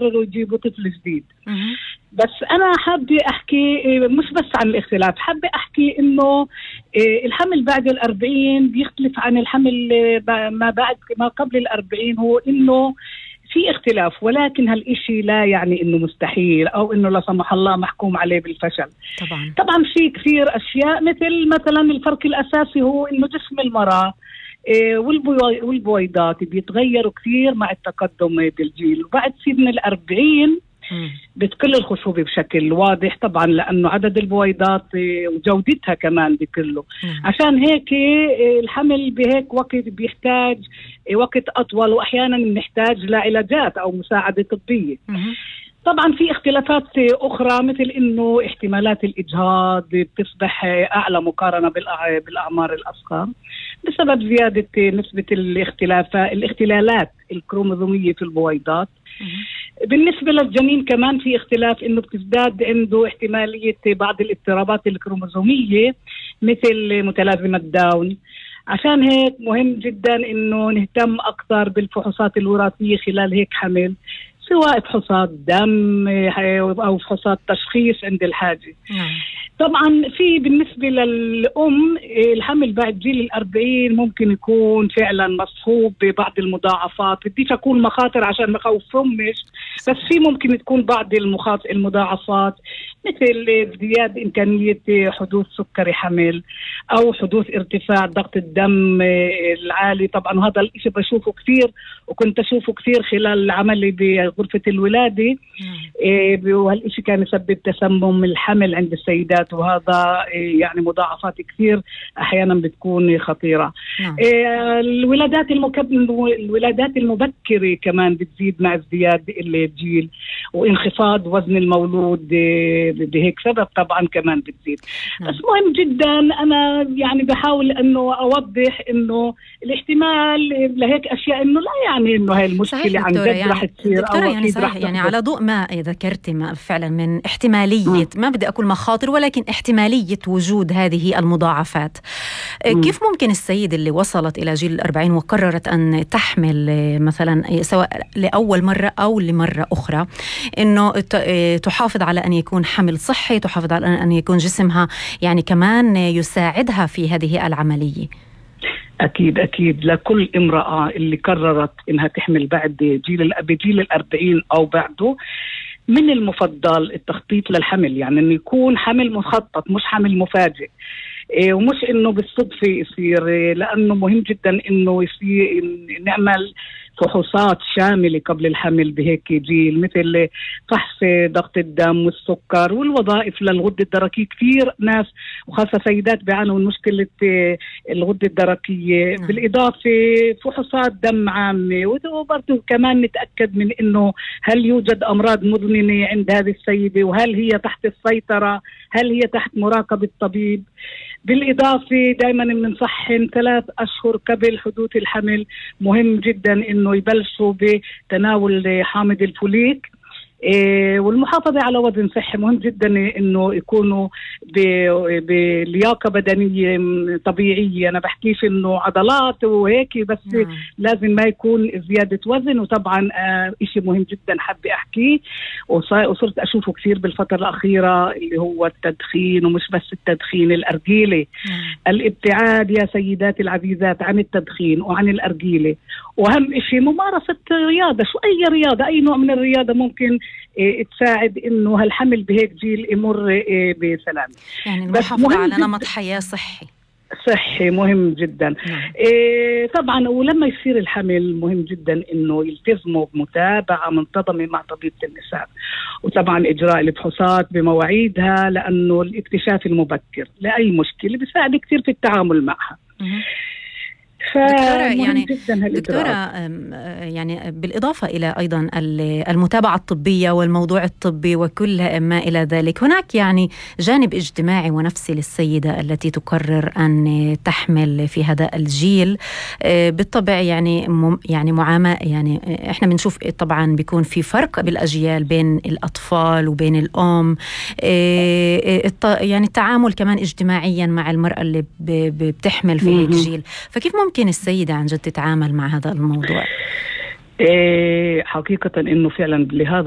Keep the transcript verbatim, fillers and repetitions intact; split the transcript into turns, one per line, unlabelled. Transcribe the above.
يقرروا يجيبوا طفل جديد. بس أنا حابة أحكي مش بس عن الاختلاف، حابة أحكي إنه الحمل بعد الأربعين بيختلف عن الحمل ما بعد ما قبل الأربعين. هو إنه في اختلاف، ولكن هالإشي لا يعني إنه مستحيل أو إنه لا سمح الله محكوم عليه بالفشل.
طبعا
طبعا في كثير أشياء، مثل مثلا الفرق الأساسي هو إنه جسم المرأة والبويضات بيتغيروا كثير مع التقدم بالجيل، وبعد سن الأربعين بتقل الخصوبة بشكل واضح طبعا، لأنه عدد البويضات وجودتها كمان بيقلوا. عشان هيك الحمل بهيك وقت بيحتاج وقت أطول، وأحيانا بنحتاج لعلاجات أو مساعدة طبية. طبعا في اختلافات أخرى، مثل إنه احتمالات الإجهاض بتصبح أعلى مقارنة بالأعمار الأصغر بسبب زيادة نسبة الاختلافات الاختلالات الكروموزومية في البويضات. بالنسبة للجنين كمان في اختلاف، إنه بتزداد عنده احتمالية بعض الاضطرابات الكروموزومية مثل متلازمة داون. عشان هيك مهم جدا إنه نهتم أكثر بالفحوصات الوراثية خلال هيك حمل، سواء فحوصات دم أو فحوصات تشخيص عند الحاجة. طبعا في بالنسبة للأم الحمل بعد جيل الأربعين ممكن يكون فعلا مصحوب ببعض المضاعفات. بديش أكون مخاطر عشان ما خوفهمش، بس في ممكن تكون بعض المضاعفات مثل ازدياد إمكانية حدوث سكري حمل أو حدوث ارتفاع ضغط الدم العالي. طبعا هذا الإشي بشوفه كثير، وكنت أشوفه كثير خلال عملي بغرفة الولادة، وهالإشي كان يسبب تسمم الحمل عند السيدات، وهذا يعني مضاعفات كثير أحيانا بتكون خطيرة.
نعم.
الولادات المكب... الولادات المبكرة كمان بتزيد مع ازدياد الجيل، وانخفاض وزن المولود بهيك سبب طبعا كمان بتزيد.
نعم.
بس مهم جدا، أنا يعني بحاول أنه أوضح أنه الاحتمال لهيك أشياء إنه لا يعني إنه هاي المشكلة عن جد
يعني
رح تصير أو
يعني صحيح يعني على ضوء ما ذكرت ما فعلا من احتمالية، ما بدي أقول مخاطر، ولكن احتمالية وجود هذه المضاعفات. م. كيف ممكن السيدة اللي وصلت إلى جيل الأربعين وقررت أن تحمل مثلا سواء لأول مرة أو لمرة أخرى إنه تحافظ على أن يكون حمل صحي، تحافظ على أن يكون جسمها يعني كمان يساعدها في هذه العملية؟
أكيد أكيد لكل امرأة اللي قررت إنها تحمل بعد جيل بجيل الأربعين أو بعده، من المفضل التخطيط للحمل، يعني إنه يكون حمل مخطط مش حمل مفاجئ، إيه ومش إنه بالصدفة يصير، إيه لأنه مهم جدا إنه يصير نعمل فحوصات شاملة قبل الحمل بهيك جيل، مثل فحص ضغط الدم والسكر والوظائف للغدة الدرقية. كثير ناس وخاصة سيدات بيعانوا من مشكلة الغدة الدرقية. م. بالإضافة فحوصات دم عامة، وبرضه كمان نتأكد من إنه هل يوجد أمراض مزمنة عند هذه السيدة، وهل هي تحت السيطرة، هل هي تحت مراقبة الطبيب. بالإضافة دائما بننصحهم ثلاث أشهر قبل حدوث الحمل مهم جدا إنه يبلشوا بتناول حامض الفوليك، إيه والمحافظة على وزن صحي. مهم جدا إنه يكونوا بلياقة بدنية طبيعية، أنا بحكيش إنه عضلات وهيك بس. نعم. لازم ما يكون زيادة وزن. وطبعا آه إشي مهم جدا حابة أحكيه وصرت أشوفه كثير بالفترة الأخيرة، اللي هو التدخين، ومش بس التدخين، الأرجيلة. نعم. الابتعاد يا سيداتي العزيزات عن التدخين وعن الأرجيلة. وأهم إشي ممارسة رياضة، شو أي رياضة، أي نوع من الرياضة ممكن إيه تساعد إنه هالحمل بهيك جيل يمر إيه بسلام.
يعني المحافظة على نمط حياة صحي
صحي مهم جدا. نعم. إيه طبعا ولما يصير الحمل مهم جدا إنه يلتزموا بمتابعة منتظمة مع طبيبة النساء، وطبعا إجراء الفحوصات بمواعيدها، لأنه الاكتشاف المبكر لأي مشكلة بيساعد كثير في التعامل معها. م-
دكتورة يعني دكتورة يعني بالإضافة إلى أيضا المتابعة الطبية والموضوع الطبي وكل ما إلى ذلك، هناك يعني جانب اجتماعي ونفسي للسيدة التي تقرر أن تحمل في هذا الجيل. بالطبع يعني يعني معاملة، يعني إحنا بنشوف طبعا بيكون في فرق بالأجيال بين الأطفال وبين الأم، يعني التعامل كمان اجتماعيا مع المرأة اللي بتحمل في هيك جيل. فكيف ممكن السيدة عن جد تتعامل مع هذا الموضوع؟
إيه حقيقة إنه فعلا لهذا